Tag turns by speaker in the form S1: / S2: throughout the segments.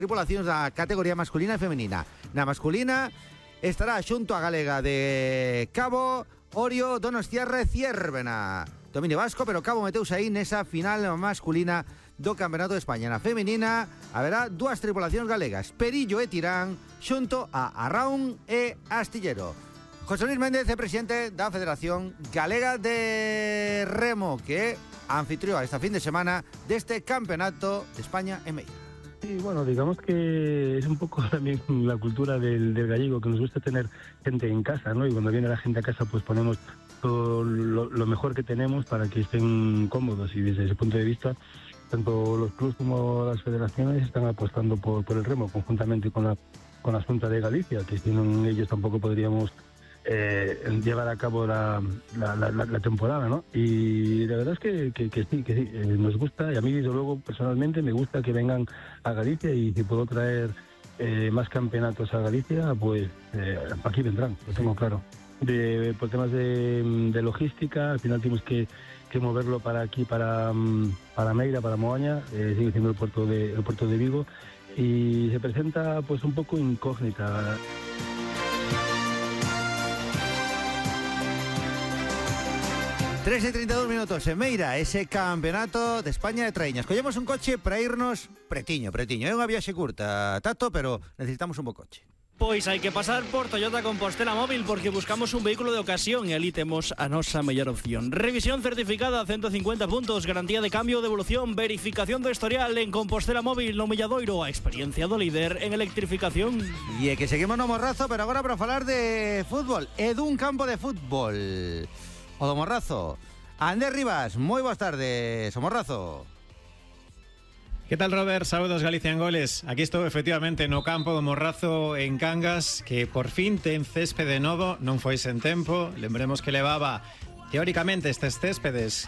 S1: tripulacións da categoría masculina e femenina. Na masculina estará xunto a galega de Cabo, Orio, Donostiarra e Ciérvena. Dominio vasco, pero Cabo meteuse aí nesa final masculina do Campeonato de España. Na femenina haberá dúas tripulacións galegas, Perillo e Tirán, xunto a Arraun e Astillero. José Luis Méndez é presidente da Federación Galega de Remo, que anfitrió esta fin de semana deste Campeonato de España en Meira.
S2: Sí, bueno, digamos que es un poco también la cultura del gallego, que nos gusta tener gente en casa, ¿no? Y cuando viene la gente a casa, pues ponemos todo lo mejor que tenemos para que estén cómodos. Y desde ese punto de vista, tanto los clubes como las federaciones están apostando por el remo, conjuntamente con la Xunta de Galicia, que sin ellos tampoco podríamos llevar a cabo la temporada, ¿no? Y la verdad es que sí, nos gusta, y a mí desde luego personalmente me gusta que vengan a Galicia, y si puedo traer más campeonatos a Galicia, pues aquí vendrán, lo tengo claro. Por temas de logística, al final tenemos que moverlo para aquí, para Meira, para Moaña, sigue siendo el puerto de Vigo, y se presenta pues un poco incógnita.
S1: 3:32 en Meira, ese Campeonato de España de Traíñas. Collemos un coche para irnos pretiño. É unha viaxe curta, Tato, pero necesitamos un bo coche.
S3: Pois hai que pasar por Toyota Compostela Móvil, porque buscamos un vehículo de ocasión e ali temos a nosa mellor opción. Revisión certificada, 150 puntos, garantía de cambio, devolución, verificación do historial en Compostela Móvil, no Milladoiro, a experiencia do líder en electrificación.
S1: E é que seguimos no Morrazo, pero agora para falar de fútbol, e dun campo de fútbol. O do Morrazo. Ander Rivas, moi boas tardes, o Morrazo.
S4: ¿Qué tal, Robert? Saludos, Galicia en Goles. Aquí estou efectivamente no campo do Morrazo en Cangas, que por fin ten céspede novo, non foi sen tempo. Lembremos que levaba teóricamente estes céspedes,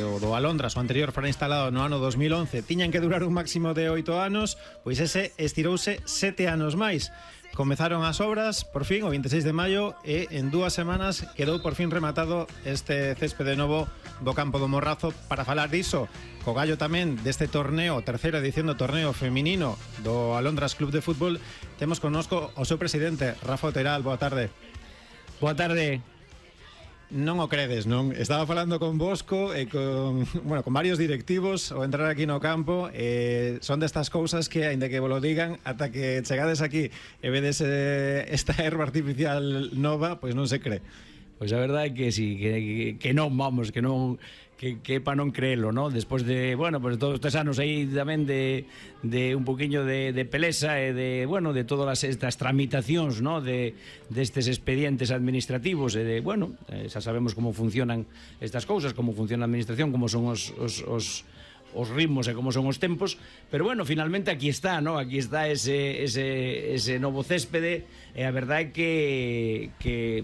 S4: o do Alondras, o anterior fora instalado no ano 2011, tiñan que durar un máximo de 8 anos, pois ese estirouse 7 anos máis. Comezaron as obras, por fin, o 26 de maio, e en 2 semanas quedou por fin rematado este céspede novo do campo do Morrazo. Para falar diso, co gallo tamén deste torneo, terceira edición do torneo feminino do Alondras Club de Fútbol, temos connosco o seu presidente, Rafa Oteral. Boa tarde.
S5: Boa tarde.
S4: Non o credes, non? Estaba falando con Bosco e con varios directivos ao entrar aquí no campo, son destas cousas que, aínda que vos lo digan, ata que chegades aquí e vedes esta erva artificial nova, pois non se cree.
S5: Pois a verdade é que sí, que non, vamos, que non, que para non creelo, ¿no? Despois de, pues todos estes anos aí tamén de un poquinho de pelesa e de todas estas tramitacións, ¿no? Destes expedientes administrativos e de, xa sabemos como funcionan estas cousas, como funciona a administración, como son os ritmos e como son os tempos, pero finalmente aquí está, ¿no? Aquí está ese novo céspede, e a verdade é que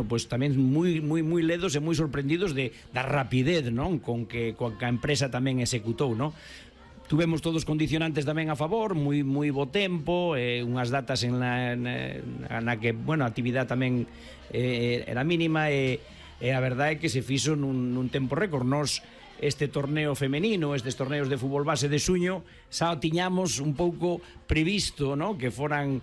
S5: pues tamén moi ledos e moi sorprendidos da rapidez, non? Con que a empresa tamén executou, non? Tuvemos todos condicionantes tamén a favor, moi bo tempo, unhas datas na que, a actividade tamén era mínima, e a verdade é que se fixo nun tempo récord. Nos este torneo femenino, estes torneos de fútbol base de xuño, xa tiñamos un pouco previsto, ¿no? Que foran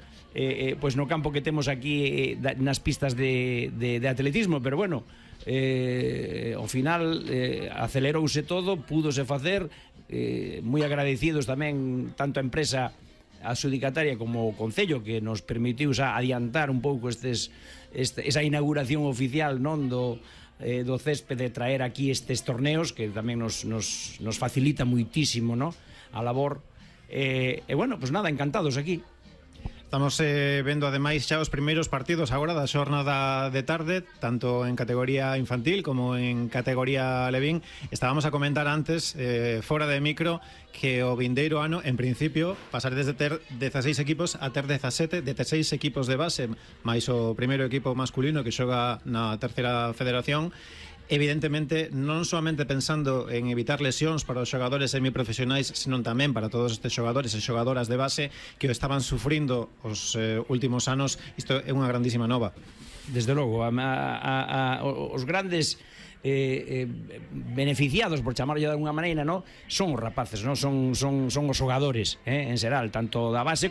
S5: pues no campo que temos aquí, nas pistas de atletismo, pero ao final acelerouse todo, púdose facer, moi agradecidos tamén tanto a empresa adxudicataria como o Concello, que nos permitiu xa adiantar un pouco esa inauguración oficial, non, do céspede, traer aquí estes torneos que tamén nos facilita muitísimo, ¿no? A labor, pues nada, encantados aquí.
S4: Estamos vendo ademais xa os primeiros partidos agora da xornada de tarde, tanto en categoría infantil como en categoría levín. Estábamos a comentar antes, fora de micro, que o vindeiro ano, en principio, pasar desde ter 16 equipos a ter 17, 16 equipos de base, máis o primeiro equipo masculino que xoga na terceira federación. Evidentemente, non solamente pensando en evitar lesións para os xogadores semiprofesionais, senón tamén para todos estes xogadores e xogadoras de base que o estaban sufrindo os últimos anos. Isto é unha grandísima nova.
S5: Desde logo, os grandes beneficiados, por chamarlo de alguna maneira, no? Son os rapaces, no? Son os xogadores, en xeral, tanto da base